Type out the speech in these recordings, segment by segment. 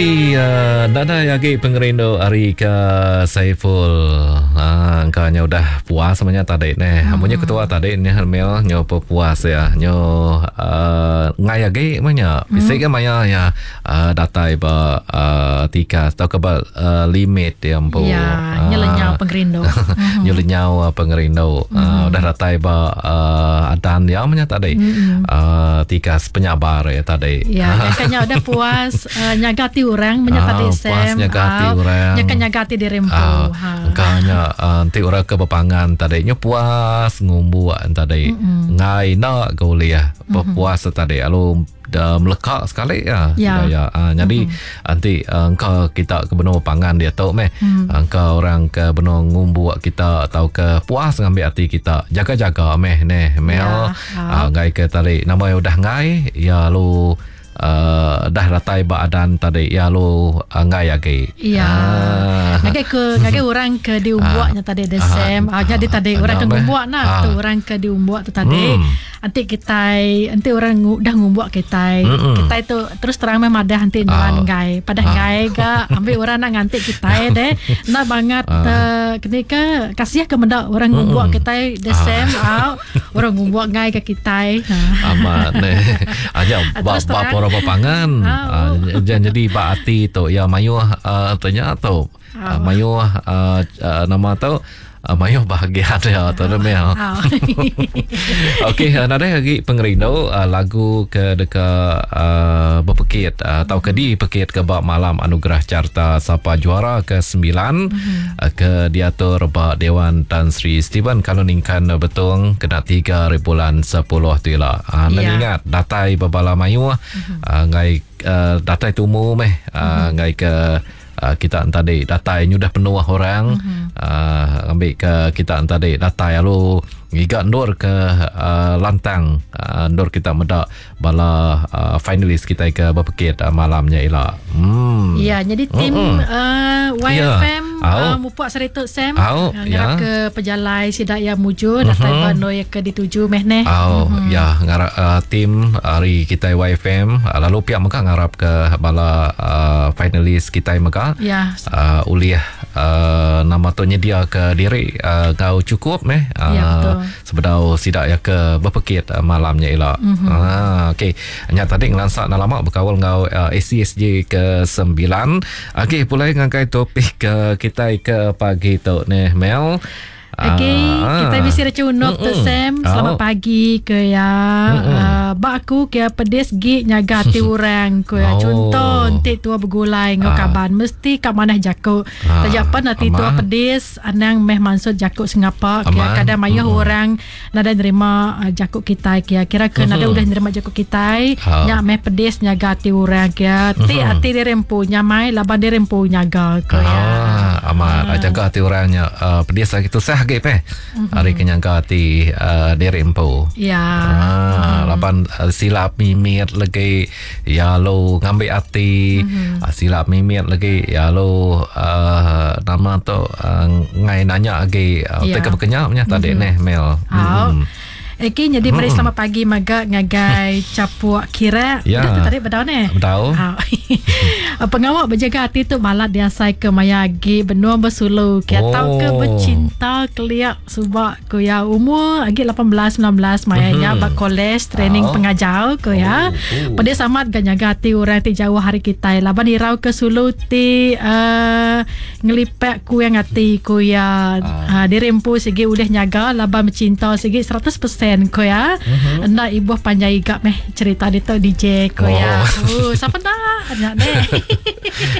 Iya, nadai agi pengerindu ari ke Saiful. Ha, engka nya udah puas menya tadi neh. Hmm. Munyi ketua tadi nya Mel nyo pepuas ya. Nyo uh, ngai agi menya. Bisi ke maya ya uh, datai ba uh, tikas tauka ba uh, limit ya empu. Ya, nyo lenyau pengerindu. Nyo lenyau pengerindu. Uh, udah datai ba uh, adan ya menya tadi. Uh, tikas penyabar ya tadi. Ya, kanya udah puas uh, nyaga ati orang menya tadi ah, Sam. Puas nyaga ati uh, orang. Nya kan nyaga ati diri empu. Uh, ha. Engka nya uh, enti orang ke bepangan tadi nya puas ngumbuk tadi. Mm-hmm. Ngai enda ke ulih bepuas mm-hmm. tadi lalu da meleka sekali ya. Ya. ya. Uh, jadi mm-hmm. enti uh, engka kita ke benung bepangan dia tu meh. Mm. Engka orang ke benung ngumbuk kita atau ke puas ngambil ati kita. Jaga-jaga meh neh Mel. Ya. Uh, ngai ke tadi nama udah ngai ya lalu Uh, dah datai ba adan tadi ya lu enggai agi. Ya. Ah. Ngagai ke ngagai orang ke diumbuknya tadi the same. Ah, jadi tadi orang ke ngumbuk nah Ah. tu orang ke diumbuk tu tadi. Enti kitai enti orang udah ngumbuk kitai, kitai tu terus terang meh madah enti nuan enggai. Padah enggai ga ambil orang nak nganti kitai deh. Enda bangat uh, keni ke kasih ke meda orang ngumbuk kitai the same au. Orang ngumbuk enggai ke kitai. Ha. Amat neh. Aja ba Terus ba terang. pora pangan. Ah, Jadi ba ati tu ya mayuh uh, tanya tu. Uh, mayuh uh, uh, nama tu uh, mayuh bahagia dia tu uh, Mel. Ah. Okey, uh, nadai lagi pengerindu uh, lagu ke deka uh, berpekit uh, atau ke dipekit ke ba malam anugerah carta Sapa Juara ke-9 uh, ke diatur ba Dewan Tan Sri Stephen Kaloningkan Betong kena 3 hari bulan 10 tu ila. Uh, Ya. ingat datai bebala mayuh uh, ngai uh, datai tumu meh uh, ngai ke uh, kita tadi datai nyudah penuh orang uh, ambil ke kita tadi datai lalu ngiga endur ke uh, lantang uh, endur kita meda bala uh, finalis kita ke berpekit uh, malamnya ila. Hmm. Ya, jadi tim uh, YFM Ya. Au. uh, mupuk seritu Sam Au, uh, ngarap ya. ke pejalai sidak ya mujur datai bandoi ke dituju meh neh. Oh, ya ngarap uh, tim hari kita YFM uh, lalu pihak mega ngarap ke bala uh, finalis kita mega Ya. uh, ulih uh, nama tu nyedia ke diri uh, kau cukup meh uh, Ya, betul. sebedau sidak ya ke berpekit uh, malamnya ila. Mm-hmm. Ah, okey. Nya tadi ngelansak nak lama berkawal ngau uh, ACSJ ke 9. Okey, pulai ngagai topik uh, kita ke pagi tu neh Mel. Okey, Ah. kita bisi recunuk tu Sam. Selamat Au. pagi ke ya. Uh, bak aku ke pedis gi nyaga ati orang ke ya. Oh. Contoh enti tua begulai ngau Ah. kaban mesti kat manah jakuk. Ah, Taja pan ati tua aman. pedis anang meh maksud jakuk sengapa ke Aman. kadang mayuh orang nadai nerima uh, jakuk kita ke kira ke nadai udah nerima jakuk kita Ah. nya meh pedis nyaga ati orang ke ti ati diri empu nyamai laban diri empu nyaga ke ya. Ah, amat. Ah. Jaga hati orangnya uh, pedis lagi tusah lagi peh. Hari kenyangka hati uh, diri empu. Ya. Ah, laban uh, silap mimit lagi ya lu ngambil hati mm-hmm. uh, silap mimit lagi ya lu uh, nama tu uh, ngai nanya lagi uh, Ya. yeah. ke berkenyap nya tadi mm-hmm. neh Mel. Au. Okey, jadi meri selamat pagi maga ngagai Capuk Kira. Ya. Udah tertarik bedau ni. Bedau. Au. Pengawak berjaga hati tu malat diasai ke maya agi benua bersulu ke Oh. atau ke bercinta keliak subak ko ya umur agi 18 19 maya nya ba college training Au. pengajar ko ya. Oh, oh. Pedis amat ga nyaga hati orang ti jauh hari kita laban irau ke sulu ti uh, ngelipek ku yang hati ku ya uh. diri empu sigi udah nyaga laban bercinta sigi 100% ku ya. Mm-hmm. Enda ibuh panjai gap meh cerita dia tu DJ ku ya. Oh. Oh, siapa nak nak ni.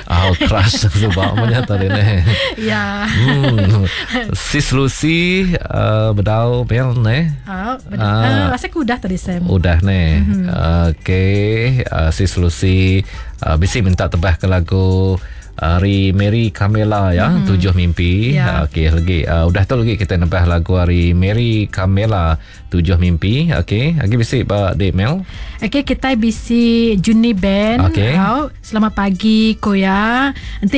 Ah, crush sebab punya tadi neh. ya. Hmm. Sis Lucy uh, bedau Mel neh. Ah, betul. Ah. Uh, rasa aku udah tadi Sam. Udah ni. Mm-hmm. Okey, uh, Sis Lucy uh, bisi minta tebah ke lagu hari Mary Camilla ya, mm-hmm. Tujuh Mimpi. Ya. Uh, Okey, lagi uh, udah tu lagi kita nebah lagu hari Mary Camilla Tujuh Mimpi. Okey, lagi bisi ba Dek Mel. Okey, kita bisi Juni Band. Okey. Au, selamat pagi Koya. Nanti